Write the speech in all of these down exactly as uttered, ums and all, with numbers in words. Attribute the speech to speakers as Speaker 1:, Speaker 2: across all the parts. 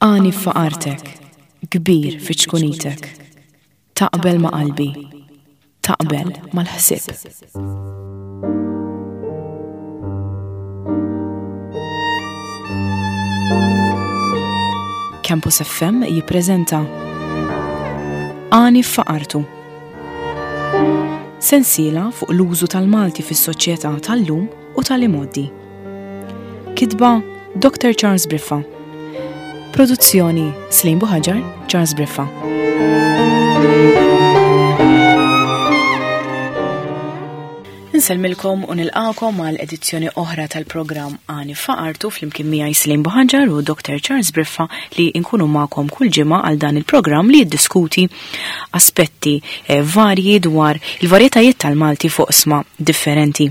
Speaker 1: Għani f'faqartek, kbir fi ċkunitek. Taqbel ma' qalbi, taqbel mal-ħsieb. Campus F M jippreżenta Għani f'faqartu. Sensiela fuq l-użu tal-Malti fis-soċjetà tal-lum u tal-imgħoddi. Kitba Doctor Charles Briffa. Produzzjoni Slim Buhaġar, Charles Briffa. Insellmilkom u nilqakom għal edizzjoni oħra tal-programm Għani f'Faqartu flimkien miegħi Slim Buhaġar u Doctor Charles Briffa li nkunu magħkom kull ġimgħa għal dan il-programm li jiddiskuti aspetti, eh, varji dwar il-varjetajiet tal-Malti fuq sma differenti.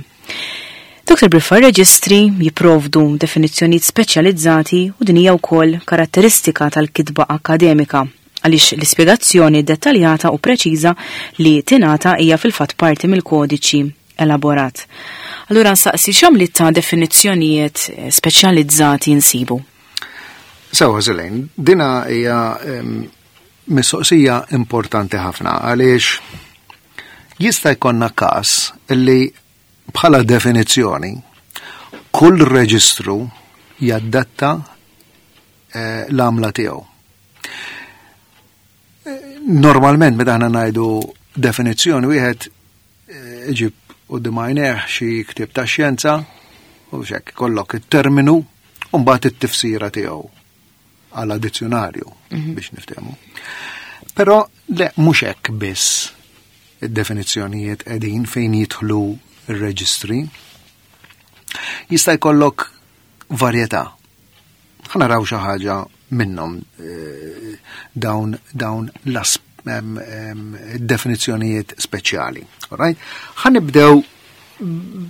Speaker 1: Doctor Briffa, reġistri jipprovdu definizzjonijiet speċjalizzati u din hija wkoll karatteristika tal-kitba akademika, għaliex l-ispjegazzjoni dettaljata u preċiża li tingħata hija fil-fatt parti mill-kodiċi elaborat. Allura nsaqsi x'għamliet ta' definizzjonijiet speċjalizzati nsibu?
Speaker 2: Sewa Zelejn, dina hija, em, mistoqsija importanti ħafna għaliex jista' jkollna każ li bħala definizzjoni kull reġistru jaddatta, eh, l-għamla tiegħu. Eh, normalment meta aħna ngħidu definizzjoni wieħed, eh, iġib quddiem għajnejh xi ktieb ta' xjenza u x'hekk ikollok it-terminu u mbagħad it-tifsira tiegħu għal dizzjonarju
Speaker 1: Mhm.
Speaker 2: biex niftehmu. Però le mhux hekk biss id-definizzjonijiet qegħdin fejn jidħlu ir-reġistri. Jista' jkollok varjetà. Ħa naraw xi ħaġa minnhom, eh, dawn, dawn l-as-, em, em, definizzjonijiet speċjali. All right? Ħa nibdew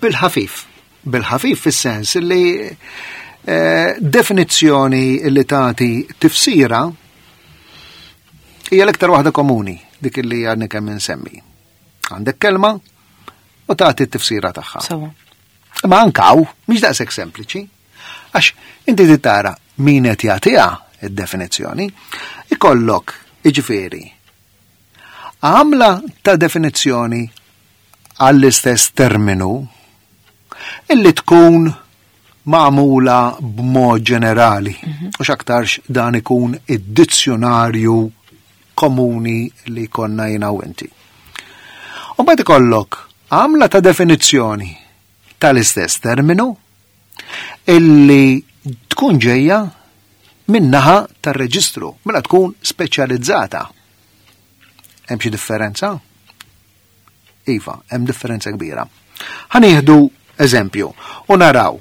Speaker 2: bil-ħafif. Bil-ħafif fis-sens li, eh, definizzjoni li tagħti tifsira hija l-iktar waħda komuni, dik li għadni kemm insemmi. Għandek kelma u tagħti t-tifsira tagħha.
Speaker 1: Sawa.
Speaker 2: Imma anke hawn mhix daqshekk sempliċi. Għax inti trid tara min qed jagħtiha id-definizzjoni, ikollok jiġifieri għamla ta' definizzjoni għall-istess terminu illi tkun magħmula b'mod ġenerali.
Speaker 1: Mhm.
Speaker 2: U x'aktarx dan ikun id-dizzjonarju komuni li konna jiena u inti. U mbagħad ikollok għamla ta' definizzjoni tal-istess terminu illi tkun ġejja min-naħa tar-reġistru, mela tkun speċjalizzata. Hemm xi differenza? Iva, hemm differenza kbira. Ħa nieħdu eżempju u naraw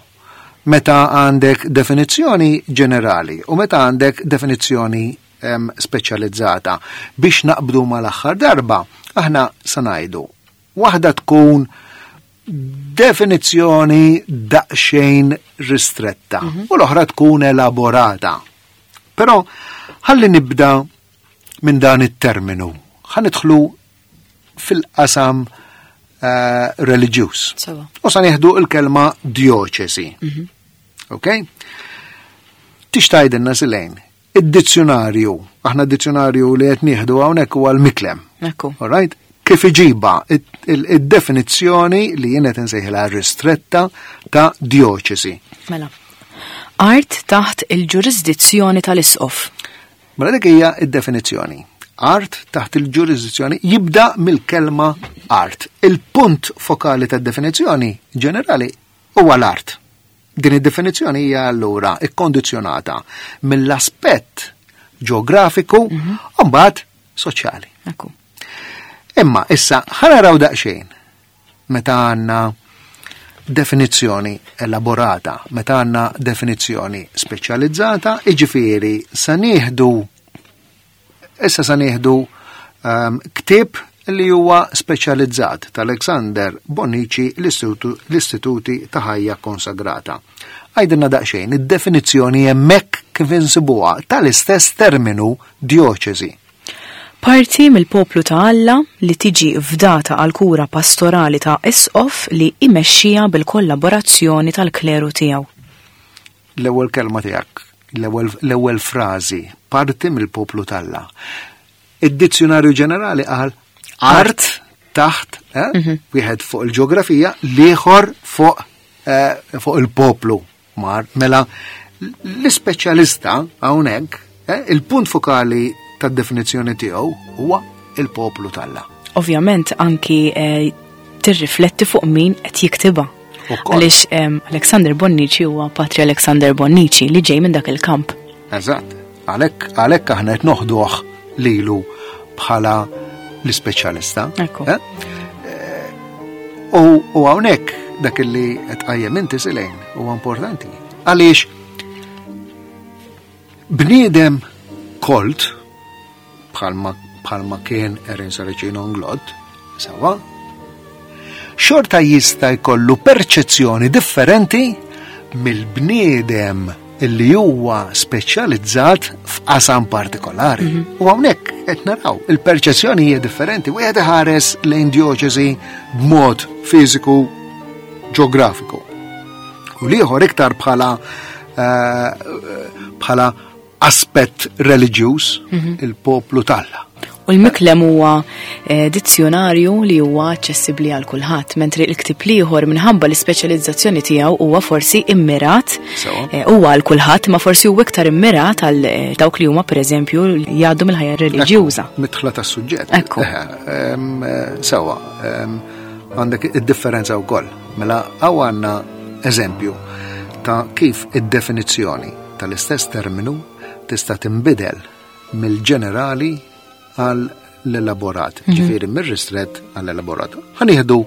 Speaker 2: meta għandek definizzjoni ġenerali u meta għandek definizzjoni, em, speċjalizzata. Biex naqbdu mal-aħħar darba, aħna sa ngħidu waħda tkun definizzjoni daqsxejn ristretta
Speaker 1: Mhm.
Speaker 2: u l-oħra tkun elaborata. Però ħalli nibda minn dan it-terminu. Ħa nidħlu fil-qasam, eh, reliġjuż.
Speaker 1: Sewa.
Speaker 2: U sa nieħdu l-kelma dioċesi.
Speaker 1: Mhm.
Speaker 2: Ok? Tix tgħidilna Silejn, id-dizzjonarju, aħna d-dizzjonarju li qed nieħdu hawnhekk huwa l-Miklem.
Speaker 1: Ekku.
Speaker 2: All right? Kif iġiba id-definizzjoni li jien qed insejħilha ristretta ta' dioċesi.
Speaker 1: Mela. Art taħt il-ġurisdizzjoni tal-isqof.
Speaker 2: Mela dik hija id-definizzjoni. Art taħt il-ġurisdizzjoni jibda mill-kelma art. Il-punt fokali tad-definizzjoni ġenerali huwa l-art. Din id-definizzjoni hija allura ikkondizzjonata mill-aspett ġeografiku
Speaker 1: Mhm.
Speaker 2: u mbagħad soċjali.
Speaker 1: Ekku.
Speaker 2: Imma issa ħa naraw daqsxejn meta għandna definizzjoni elaborata, meta għandna definizzjoni speċjalizzata, jiġifieri sa nieħdu issa sa nieħdu, ehm, ktieb li huwa speċjalizzat ta' Alexander Bonnici, l-istitutu, l-Istituti ta' Ħajja Konsagrata. Għajdilna daqsxejn id-definizzjoni hemmhekk kif insibuha tal-istess terminu dioċesi.
Speaker 1: Parti mill-poplu ta' Alla li tiġi fdata għal kura pastorali ta' isqof li imexxija bil-kollaborazzjoni tal-kleru tiegħu.
Speaker 2: L-ewwel kelma tiegħek L-ewwel frażi, parti mill-poplu t'Alla. Id-dizzjonarju ġenerali qal art taħt, eh, mhm. wieħed fuq il-ġeografija, l-ieħor fuq eh, fuq il-poplu. Mar, mela l-ispeċjalista hawnhekk, eh, il-punt fokali tad-definizzjoni tiegħu huwa il-poplu t'Alla.
Speaker 1: Ovvjament anki eh, tirrifletti fuq min qed jiktibha. Għaliex Alexander Bonnici huwa Patri Alexander Bonnici li ġej minn dak il-kamp.
Speaker 2: Eżatt. Għalhekk għalhekk aħna qed noħduh lilu bħala l-ispeċjalista.
Speaker 1: Eh?
Speaker 2: Eh, u hawnhekk dak li qed qajjem inti Silejn huwa importanti. Għaliex bniedem kolt bħalma bħalma kien Erin Saracino Nglott, sawa, xorta jista' jkollu perċezzjoni differenti mill-bniedem illi huwa speċjalizzat f'qasam partikolari. Mm -hmm. U hawnhekk qed naraw il-perċezzjoni hija differenti. Wieħed iħares lejn djoċesi b'mod fiżiku ġeografiku. U l-ieħor iktar bħala eh, bħala aspett reliġjuż mm -hmm. il-poplu t'Alla.
Speaker 1: U l-Miklem huwa eh, dizzjonarju li huwa aċċessibbli għal kulħadd, mentri l-ktieb l-ieħor minħabba l-ispeċjalizzazzjoni tiegħu huwa forsi immirat eh, huwa għal kulħadd, ma forsi huwa iktar immirat għal eh, dawk li huma pereżempju jgħaddu mill-ħajja reliġjuża.
Speaker 2: Mitħla tas-suġġett.
Speaker 1: Ekku.
Speaker 2: Sewa, għandek id-differenza wkoll. Mela hawn għandna eżempju ta' kif id-definizzjoni tal-istess terminu tista' tinbidel mill-ġenerali għal l-elaborat, mhm. ġifieri mir-ristret għall elaborat. Ħa nieħdu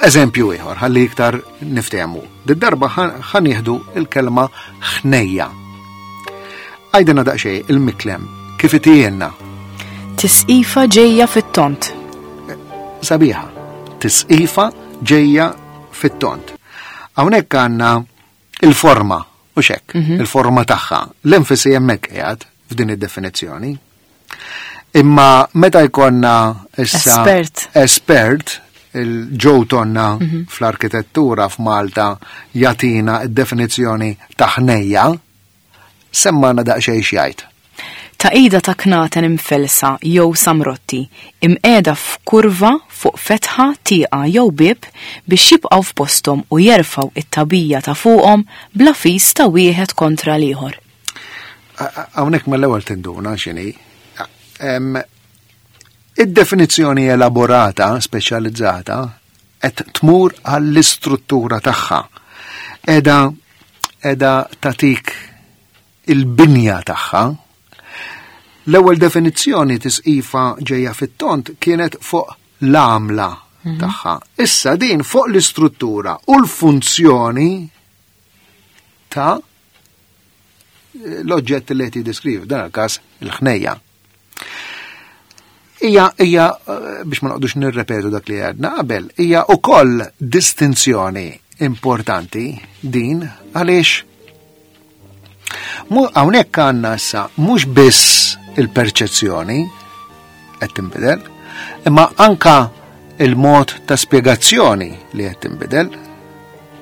Speaker 2: eżempju ieħor ħalli iktar niftehmu. Did-darba ħa nieħdu il-kelma ħnejja. Għajdilna daqsxejn il-Miklem kif itijenna.
Speaker 1: Tisqifa ġejja fit-tont.
Speaker 2: Sabiħa. Tisqifa ġejja fit-tont. Hawnhekk għandna il-forma u xek, mhm. il-forma tagħha. L-enfasi hemmhekk qiegħed f'din id-definizzjoni. Imma meta jkollna issa
Speaker 1: espert,
Speaker 2: espert il-Joe Tonna mm -hmm. fl-arkitettura f'Malta jatina id-definizzjoni ta' ħnejja, semmana daqsxejn x'jgħid.
Speaker 1: Taqida ta' knaten imfelsa jew samrotti, imqiegħda f'kurva fuq fetħa, tieqa jew bieb biex jibqgħu f'posthom u jerfgħu it-tagħbija ta' fuqhom bla fis ta' wieħed kontra l-ieħor.
Speaker 2: Hawnhekk mill-ewwel tinduna x'inhi. Id-definizzjoni elaborata, speċjalizzata, qed tmur għall-istruttura tagħha. Eda eda tatik il-binja tagħha. L-ewwel definizzjoni tisqifa ġejja fit-tont kienet fuq l-għamla mhm. tagħha. Issa din fuq l-istruttura u l-funzjoni ta' l-oġġett li qed jiddeskrivi, dan il-każ il-ħnejja. Hija hija biex ma noqgħodux nirrepetu dak li għedna qabel, hija wkoll distinzjoni importanti din għaliex hawnhekk għandna issa mhux biss il-perċezzjoni qed tinbidel, imma anka il-mod ta' spjegazzjoni li qed tinbidel.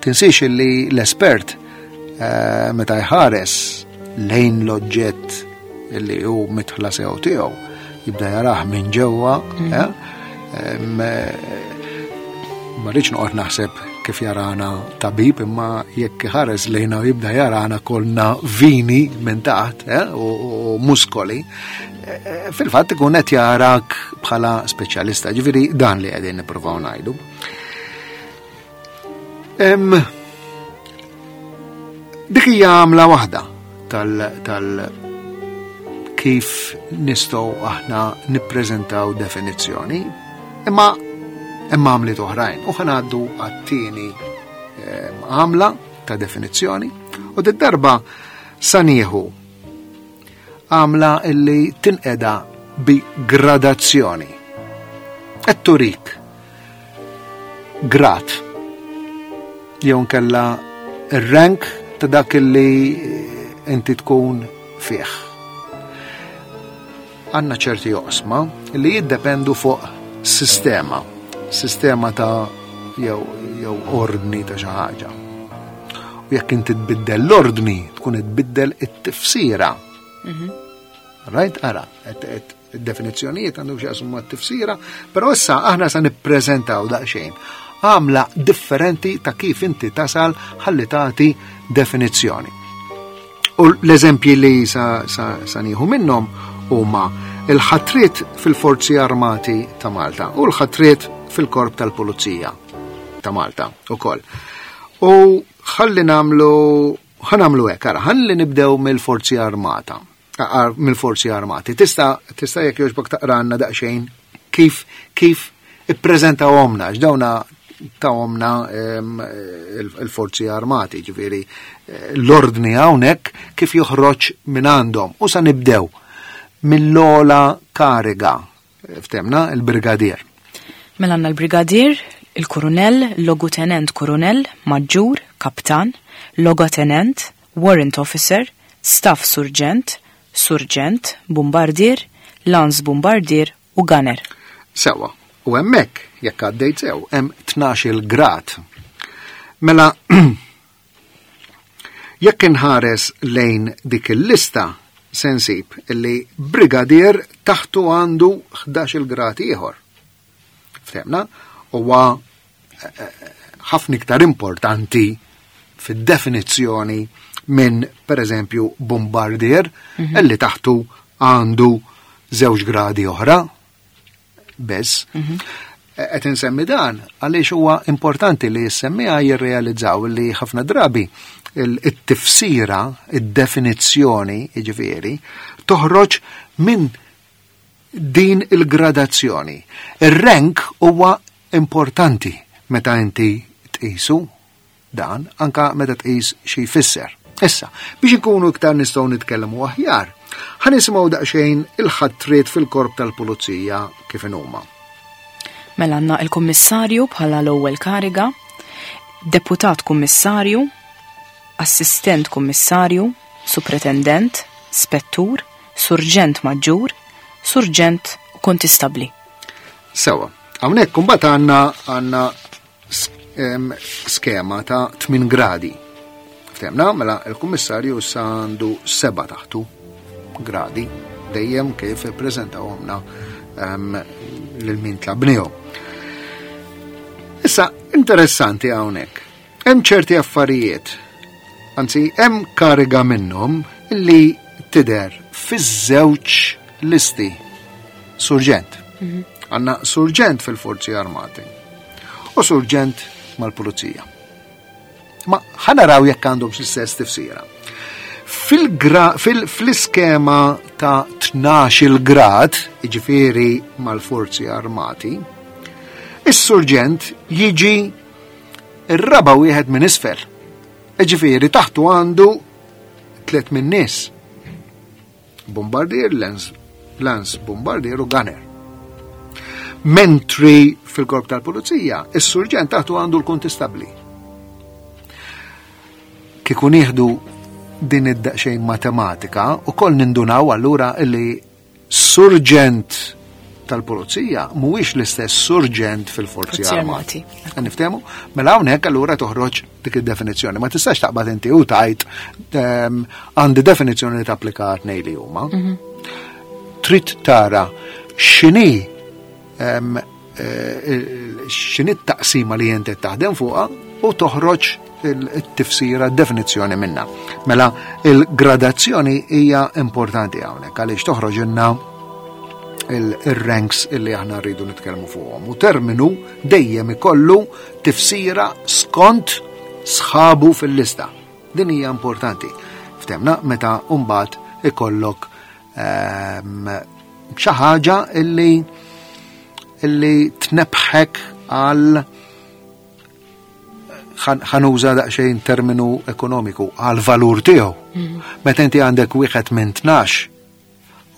Speaker 2: Tinsiex li l-espert eh, meta jħares lejn l-oġġett li hu mitħla sew tiegħu jibda jarah minn ġewwa, mm. eh, ma rridx noqgħod naħseb kif jarana tabib, imma jekk ħares lejna u jibda jarana kolna vini minn taħt eh, u muskoli, eh, fil-fatt ikun qed jarak bħala speċjalista, ġifieri dan li qegħdin nippruvaw ngħidu. Dik hija għamla waħda tal, tal kif nistgħu aħna nippreżentaw definizzjoni, imma hemm għamliet oħrajn. U ħanaddu għat-tieni għamla ta' definizzjoni u d-darba sa nieħu għamla illi tinqeda bi gradazzjoni. Qed turik grad jew nkella ir-rank ta' dak illi inti tkun fih. Għandna ċerti oqsma li jiddependu fuq sistema, sistema ta' jew jew ordni ta' xi ħaġa. U jekk inti tbiddel l-ordni, tkun tbiddel it-tifsira. Mhm. Right? Ara, id-definizzjonijiet għandhom x'jaqsmu mat-tifsira, però issa aħna sa nippreżentaw daqsxejn għamla differenti ta' kif inti tasal ħalli tagħti definizzjoni. U l-eżempji li sa, sa, sa nieħu minnhom huma il-ħatriet fil-Forzi Armati ta' Malta u l-ħatriet fil-Korp tal-Pulizija ta' Malta ukoll. U ħalli nagħmlu ħa nagħmlu hekk, ara, ħalli nibdew mill-Forzi Armata, mill-Forzi Armati. Tista' tista' jekk jogħġbok taqranna daqsxejn kif kif ippreżentawhomna, x'dawna tawhomna il-Forzi Armati, ġifieri l-ordni hawnhekk kif joħroġ minn għandhom. U sa nibdew mill-ogħla kariga, ftemna, il-brigadier.
Speaker 1: Mela għandna l-brigadier, il-kurunell, logutenent kurunell, maġġur, kaptan, logotenent, warrant officer, staff surġent, surġent, bombardier, lance bombardier u gunner.
Speaker 2: Sewa, u hemmhekk jekk għaddejt sew, hemm tnax-il grad. Mela, jekk inħares lejn dik il-lista, se nsib illi brigadier taħtu għandu ħdax-il grad ieħor. Ftemna? Huwa eh, eh, ħafna iktar importanti fid-definizzjoni minn, per eżempju, bombardier, mhm. illi taħtu għandu żewġ gradi oħra. Biss. Mhm. Qed insemmi dan għaliex huwa importanti li jissemmiha jirrealizzaw li ħafna drabi il-tifsira, id-definizzjoni, jiġifieri, toħroġ minn din il-gradazzjoni. Ir-rank huwa importanti meta inti tqisu dan, anka meta tqis xi jfisser. Issa, biex ikunu iktar nistgħu nitkellmu aħjar, ħa nisimgħu daqsxejn il-ħatriet fil-korp tal-pulizija kif huma.
Speaker 1: Mela għandna il-kummissarju bħala l-ewwel kariga, deputat kummissarju, assistent kummissarju, supretendent, spettur, surġent maġġur, surġent u kontistabli.
Speaker 2: Sewa, hawnhekk imbagħad għandna għandna skema ta' tmien gradi. Ftemna, mela il-kummissarju issa għandu seba' taħtu gradi, dejjem kif ippreżentawhomna lil min tlabnihom. Issa, interessanti hawnhekk. Hemm ċerti affarijiet, anzi hemm kariga minnhom li tidher fiż-żewġ listi. Surġent. Mhm. Għandna surġent fil-Forzi Armati u surġent mal-Pulizija. Ma ħa naraw jekk għandhom l-istess tifsira. Fil-iskema ta' tnax-il grad, jiġifieri mal-Forzi Armati, is-surġent jiġi ir-raba' wieħed minn isfel. Jiġifieri taħtu għandu tliet minn nies. Bombardier, lance, lance bombardier u gunner. Mentri fil-korp tal-pulizija, is-surġent taħtu għandu l-kontistabli. Kieku nieħdu din id-daqsxejn matematika u koll nindunaw allura illi surġent tal-pulizija mhuwiex l-istess surġent fil-forzi
Speaker 1: Forzi
Speaker 2: armati.
Speaker 1: Armati.
Speaker 2: Niftehmu? Mela hawnhekk allura toħroġ dik id-definizzjoni. Ma tistax taqbad inti u tajt ehm, għandi definizzjoni li tapplika tnejn li huma.
Speaker 1: Mhm.
Speaker 2: Trid tara x'inhi ehm, eh, x'inhi t-taqsima li inti taħdem fuqha u toħroġ il-tifsira, definizzjoni minna. Mela il-gradazzjoni hija importanti hawnhekk għaliex toħroġ inna il-ranks illi aħna rridu nitkellmu fuqhom. U terminu dejjem ikollu tifsira skont sħabu fil-lista. Din hija importanti. Ftemna meta mbagħad ikollok ehm, xi ħaġa illi illi tnebħek għal ħa nuża daqsxejn terminu ekonomiku għal valur tiegħu.
Speaker 1: Mhm.
Speaker 2: Meta inti għandek wieħed minn tnax,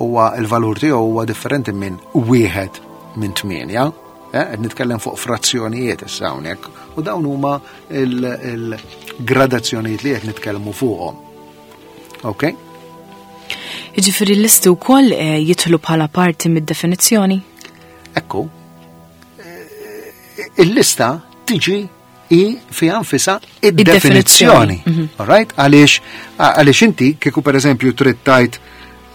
Speaker 2: huwa il-valur tiegħu huwa differenti minn wieħed minn tmienja. Eh, qed nitkellem fuq frazzjonijiet issa hawnhekk u dawn huma il-gradazzjonijiet li qed nitkellmu fuqhom. Ok?
Speaker 1: Jiġifieri l-listi wkoll, eh, jidħlu bħala parti mid-definizzjoni?
Speaker 2: Ekku, eh, il-lista tiġi hi fiha nfisha id-definizzjoni.
Speaker 1: Mhm.
Speaker 2: All right? Għaliex għaliex inti kieku pereżempju trid tgħid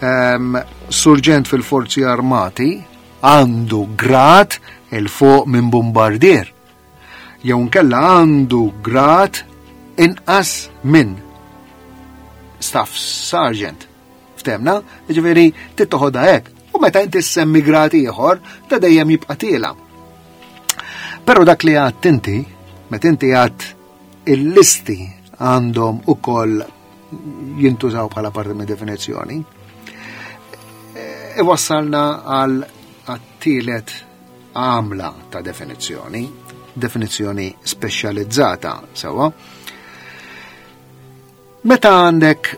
Speaker 2: ehm, surġent fil-forzi armati għandu grad 'il fuq minn bombardier. Jew nkella għandu grad inqas minn staff sergeant. Ftemna? Ġifieri tittoħodha hekk. U meta inti semmi grad ieħor, ta' dejjem jibqa' tiela. Però dak li għedt inti, meta inti għedt il-listi għandhom ukoll jintużaw bħala parti minn definizzjoni, iwassalna għal għat-tielet għamla ta' definizzjoni, definizzjoni speċjalizzata, sewa. Meta għandek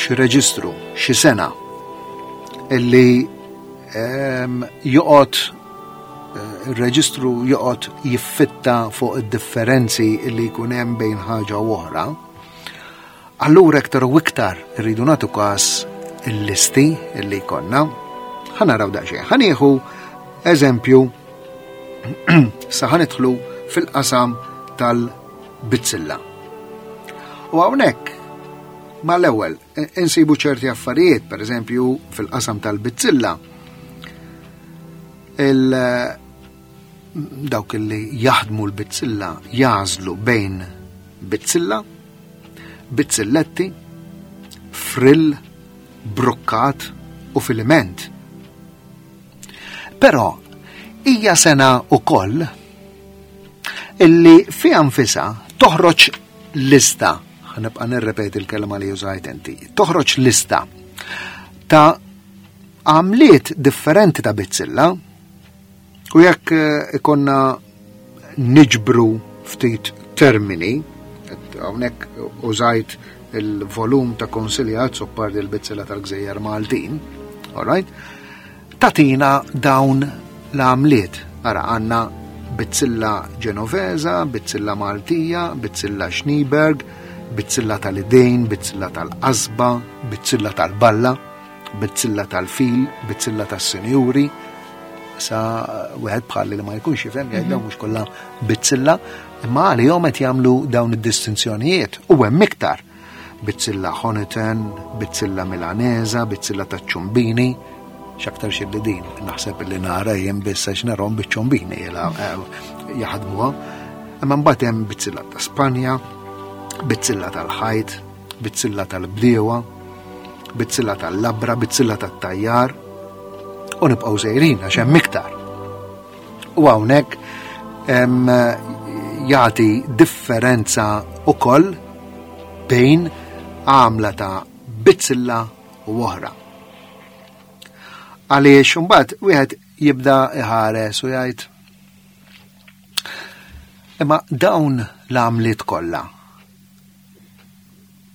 Speaker 2: xi reġistru, xi sena illi ehm, joqgħod eh, il-reġistru joqgħod jiffitta fuq id-differenzi illi jkun hemm bejn ħaġa u oħra, allura iktar u iktar irridu nagħtu każ il-listi illi jkollna. Ħa naraw daqsxejn. Ħa nieħu eżempju sa ħa nidħlu fil-qasam tal-bizzilla. U hawnhekk mal-ewwel insibu ċerti affarijiet, per eżempju fil-qasam tal-bizzilla, il dawk li jaħdmu l-bizzilla jagħżlu bejn bizzilla, bizzilletti, frill, brukkat u filiment. Però hija sena ukoll illi fiha nfisha toħroġ lista, ħa nibqa' nirrepeti l-kelma li użajt inti, toħroġ lista ta' għamliet differenti ta' bizzilla u jekk eh, ikonna niġbru ftit termini, hawnhekk użajt il-volum ta' Consilia Azzopardi l-bizzilla tal-Gżejjer Maltin, all right? Tatina dawn l-għamliet. Ara, għandna bizzilla Ġenoveza, bizzilla Maltija, bizzilla Schneeberg, bizzilla tal-idejn, bizzilla tal-qasba, bizzilla tal-balla, bizzilla tal-fil, bizzilla tas-sinjuri. Sa wieħed bħalli li ma jkunx jifhem jgħid dawn mhux kollha bizzilla, imma għalihom qed jagħmlu dawn id-distinzjonijiet u hemm iktar. Bizzilla Honiton, bizzilla Milanesa, bizzilla taċ-ċumbini, x'aktar xi li din, naħseb li nara jien biss għax narhom biċ-ċumbini jaħdmuha. Imma mbagħad hemm bizzilla ta' Spanja, bizzilla tal-ħajt, bizzilla tal-bdiewa, bizzilla tal-labra, bizzilla tat-tajjar, u nibqgħu sejrin għax hemm iktar. U hawnhekk jagħti differenza ukoll bejn għamla ta' bizzilla u oħra. Għaliex imbagħad wieħed jibda iħares u jgħid imma dawn l-għamliet kollha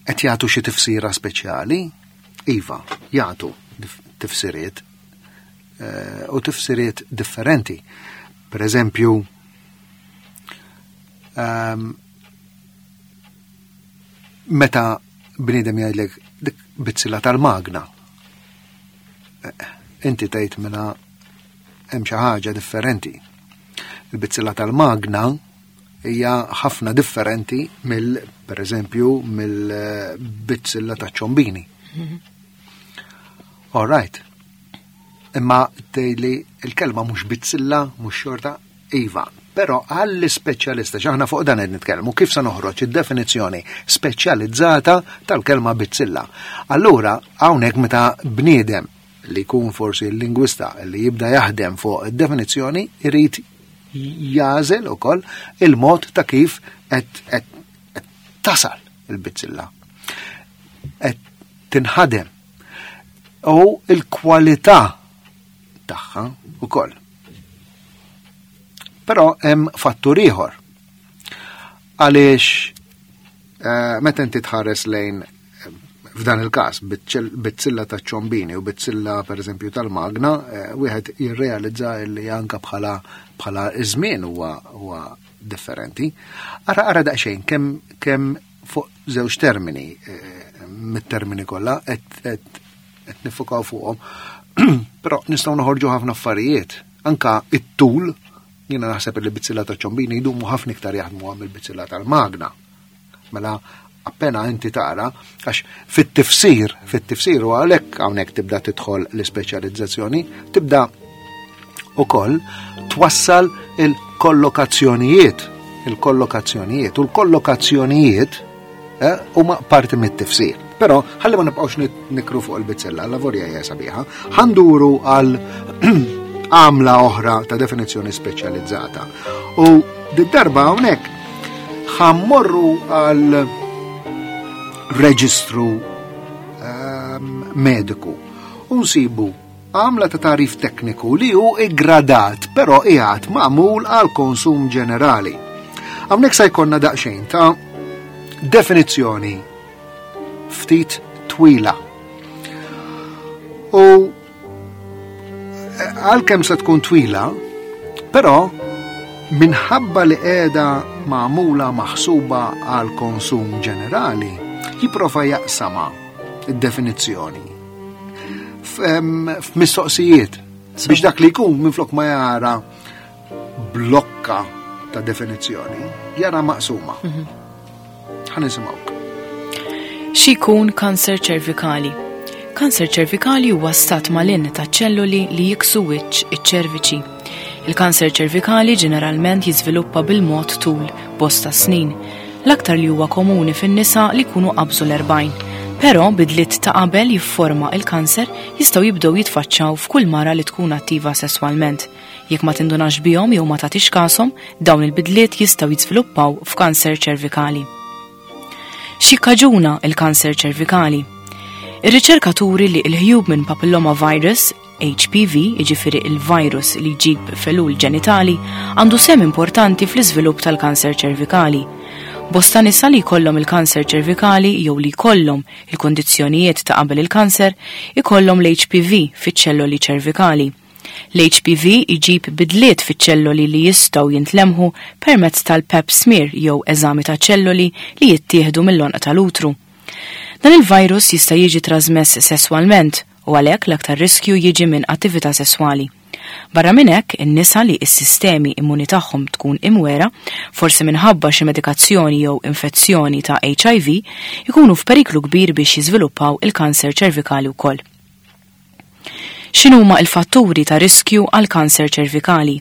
Speaker 2: qed jagħtu xi tifsira speċjali? Iva, jagħtu tifsiriet eh, u tifsiriet differenti. Per eżempju, um, meta bniedem jgħidlek dik bizzilla tal-magna, eh, inti tgħid mela hemm xi ħaġa differenti. Il-bizzilla tal-magna hija ħafna differenti mill, per eżempju, mill-bizzilla taċ-ċombini. All right. Imma tgħidli il-kelma mhux bizzilla, mhux xorta, iva. Però għall-ispeċjalista, x'aħna fuq dan qed nitkellmu, kif se noħroġ id-definizzjoni speċjalizzata tal-kelma bizzilla. Allura hawnhekk meta bniedem li jkun forsi l-lingwista li jibda jaħdem fuq id-definizzjoni irid jagħżel ukoll il-mod ta' kif qed qed tasal il-bizzilla. Qed tinħadem u il-kwalità tagħha ukoll. Però hemm fattur ieħor. Għaliex eh, meta inti tħares lejn eh, f'dan il-każ bizzilla ta' ċombini u bizzilla per eżempju tal-magna, eh, wieħed jirrealizza li anka bħala bħala iż-żmien huwa huwa differenti. Ara ara daqsxejn kemm kemm fuq żewġ termini mit-termini kollha qed qed nifokaw fuqhom. Però nistgħu noħorġu ħafna affarijiet. Anka it-tul Jiena naħseb li bizzilla ta' ċombini jdumu ħafna iktar jaħdmu għam il-bizzilla tal-magna. Mela appena inti tara, għax fit-tifsir, fit-tifsir u għalhekk hawnhekk tibda tidħol l-ispeċjalizzazzjoni, tibda ukoll twassal il-kollokazzjonijiet, il-kollokazzjonijiet u l-kollokazzjonijiet eh, huma parti mit-tifsir. Però ħalli ma nibqgħux nikru fuq il-bizzella, la vorja hija sabiħa, ħanduru għal għamla oħra ta' definizzjoni speċjalizzata. U d-darba hawnhekk ħammorru għal reġistru um, mediku u nsibu għamla ta' tarif tekniku li hu iggradat, però qiegħed magħmul għal konsum ġenerali. Hawnhekk se jkollna daqsxejn ta' definizzjoni ftit twila. U għalkemm se tkun twila, però minħabba li qiegħda magħmula maħsuba għal konsum ġenerali, jipprova jaqsama id-definizzjoni f'mistoqsijiet biex dak li jkun minflok ma jara blokka ta' definizzjoni, jara maqsuma. Ħa nisimgħuk.
Speaker 1: X'ikun kanser ċervikali? Kanser ċervikali huwa stat malinn ta' ċelluli li jiksu wiċċ iċ-ċerviċi. Il-kanser ċervikali ġeneralment jiżviluppa bil-mod tul bosta snin. L-aktar li huwa komuni fin-nisa li jkunu qabżu l-erbgħin. Però bidliet ta' qabel jifforma il-kanser jistgħu jibdew jitfaċċaw f'kull mara li tkun attiva sesswalment. Jekk ma tindunax bihom jew ma tagħtix kashom, dawn il-bidliet jistgħu jiżviluppaw f'kanser ċervikali. X'jikkaġuna il-kanser ċervikali? Ir-riċerka turi li l-Human Papilloma Virus, H P V, jiġifieri il-virus li jġib felul ġenitali, għandu sem importanti fl-iżvilupp tal-kanser ċervikali. Bosta nisa li jkollhom il-kanser ċervikali jew li jkollhom il-kondizzjonijiet ta' qabel il-kanser ikollhom l-H P V fiċ-ċelloli ċervikali. L-H P V iġib bidliet fiċ-ċelloli li jistgħu jintlemħu permezz tal-pap smear jew eżami ta' ċelloli li jittieħdu mill-għonq tal-utru. Dan il-virus jista' jiġi trasmess sesswalment u għalhekk l-aktar riskju jiġi minn attività sesswali. Barra minn hekk, in-nisa li s-sistemi immuni tagħhom tkun imwera, forsi minħabba xi medikazzjoni jew infezzjoni ta' H I V, ikunu f'periklu kbir biex jiżviluppaw il-kanser ċervikali wkoll. X'inhuma l-fatturi ta' riskju għal kanser ċervikali?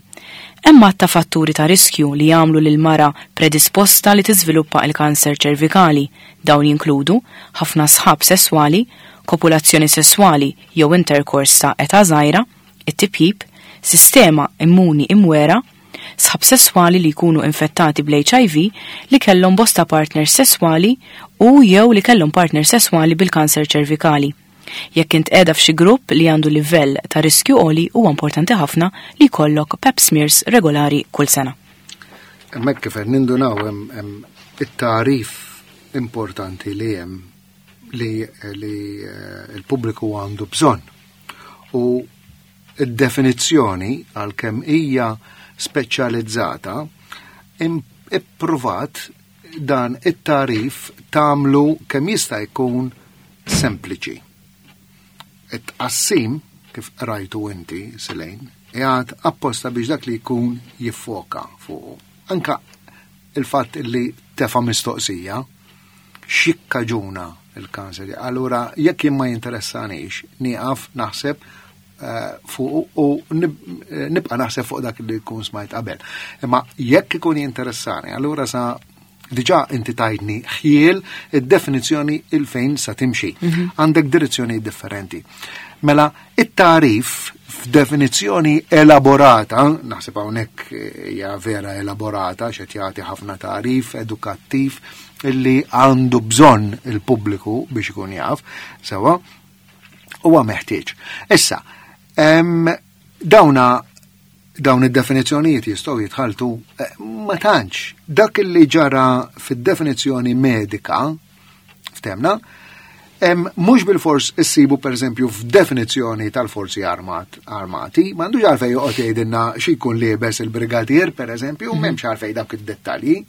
Speaker 1: Hemm għadd ta' fatturi ta' riskju li jagħmlu lil mara predisposta li tiżviluppa l-kanser ċervikali. Dawn jinkludu ħafna sħab sesswali, kopulazzjoni sesswali jew interkors ta' età żgħira, it-tipjip, sistema immuni imwera, sħab sesswali li jkunu infettati bl-H I V li kellhom bosta partners sesswali u jew li kellhom partner sesswali bil-kanser ċervikali. Jekk int qiegħda f'xi grupp li għandu livell ta' riskju għoli, huwa importanti ħafna li jkollok pap smears regolari kull sena.
Speaker 2: Hemmhekk kif qed nindunaw hemm, hemm it-tagħrif importanti li hemm li, li, eh, l-pubbliku għandu bżonn. U id-definizzjoni għalkemm hija speċjalizzata im-, ippruvat dan it-tagħrif tagħmlu kemm jista' jkun sempliċi. It-tqassim, kif rajtu inti, Selene, qiegħed apposta biex dak li jkun jiffoka fuqu. Anka il-fatt li tefa' mistoqsija, x'jikkaġuna il-kanser. Allura, jekk jien ma jinteressanix, nieqaf naħseb, eh, fuq u nib-, eh, nibqa' naħseb fuq dak li jkun smajt qabel. Imma jekk ikun jinteressani, allura sa diġà inti tajtni ħjiel id-definizzjoni il-fejn sa timxi.
Speaker 1: Mhm.
Speaker 2: Għandek direzzjoni differenti. Mela, it-tarif f'definizzjoni elaborata, naħseb hawnhekk hija vera elaborata, x'qed jagħti ħafna tarif edukattiv illi għandu bżonn il-pubbliku biex ikun jaf, sewa, huwa meħtieġ. Issa, em, dawna dawn id-definizzjonijiet jistgħu jitħaltu, eh, ma tantx. Dak li ġara fid-definizzjoni medika, ftemna, em, mhux bil-fors issibu pereżempju f'definizzjoni tal-forzi armat, armati, m'għandux għalfejn joqgħod jgħidilna xi jkun liebes il-brigadier pereżempju,
Speaker 1: Mhm.
Speaker 2: m'hemmx għalfejn dawk id-dettalji,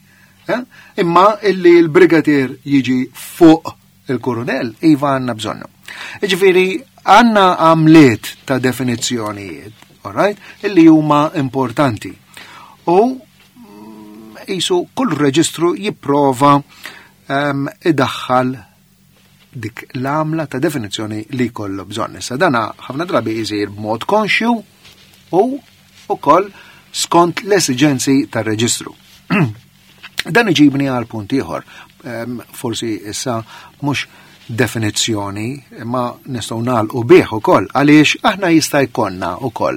Speaker 2: eh? Imma illi l-brigadier jiġi fuq il-kurunell, iva għandna bżonnu. Jiġifieri għandna għamliet ta' definizzjonijiet, all right, illi huma importanti. U qisu kull reġistru jipprova um, idaħħal dik l-għamla ta' definizzjoni li kollu bżonn. Issa dana ħafna drabi jisir b'mod konxju u ukoll skont l-esiġenzi tar-reġistru. Dan iġibni għal punt ieħor, um, forsi issa mhux definizzjoni, imma nistgħu nagħlqu bih ukoll għaliex aħna jista' jkollna ukoll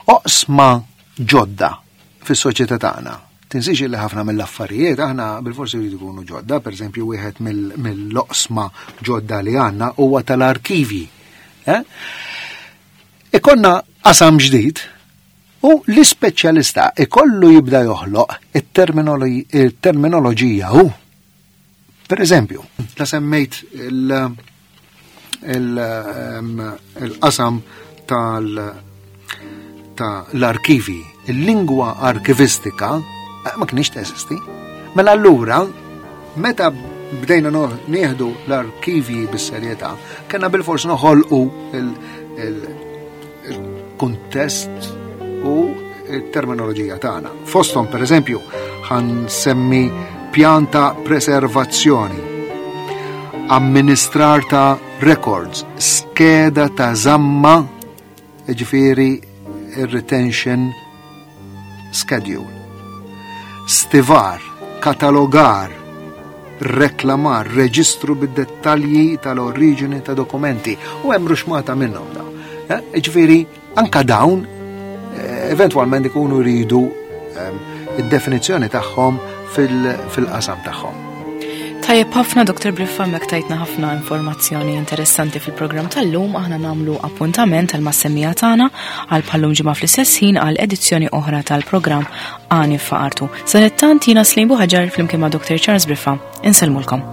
Speaker 2: oqsma ġodda fis-soċjetà tagħna. Tinsiex li ħafna mill-affarijiet aħna bil-forsi jridu jkunu ġodda, pereżempju wieħed mill-oqsma ġodda li għandna huwa tal-arkivi. Eh? Ikonna qasam ġdid u l-ispeċjalista ikollu jibda joħloq it-terminoloġija hu. Per eżempju, la semmejt il-qasam tal- tal-arkivi, il-lingwa arkivistika ma kienx teżisti. Mela allura, meta bdejna nieħdu l-arkivi bis-serjetà, kellna bil-fors noħolqu il-kuntest u il-terminoloġija tagħna. Fosthom, per eżempju, ħa nsemmi pjan ta' preservazzjoni, amministrar ta' records, skeda ta' zamma, ġifieri retention schedule, stivar, katalogar, reklamar, reġistru bid-dettalji tal-oriġini ta' dokumenti u hemm ruxmata minnhom da. Eh, ġifieri anka dawn eh, eventwalment ikunu jridu ehm, id-definizzjoni tagħhom fil-qasam tagħhom.
Speaker 1: Tajjeb ħafna Doktor Briffa, mek tajtna ħafna informazzjoni interessanti fil-programm tal-lum. Aħna nagħmlu appuntament tal-mas-semmiegħa tagħna għal bħal-lum ġimgħa fl-istess ħin għal edizzjoni oħra tal-programm Għani f'Artu. Sadanittant jiena Slim Buħaġar flimkien ma' Doktor Charles Briffa. Insellmulkom.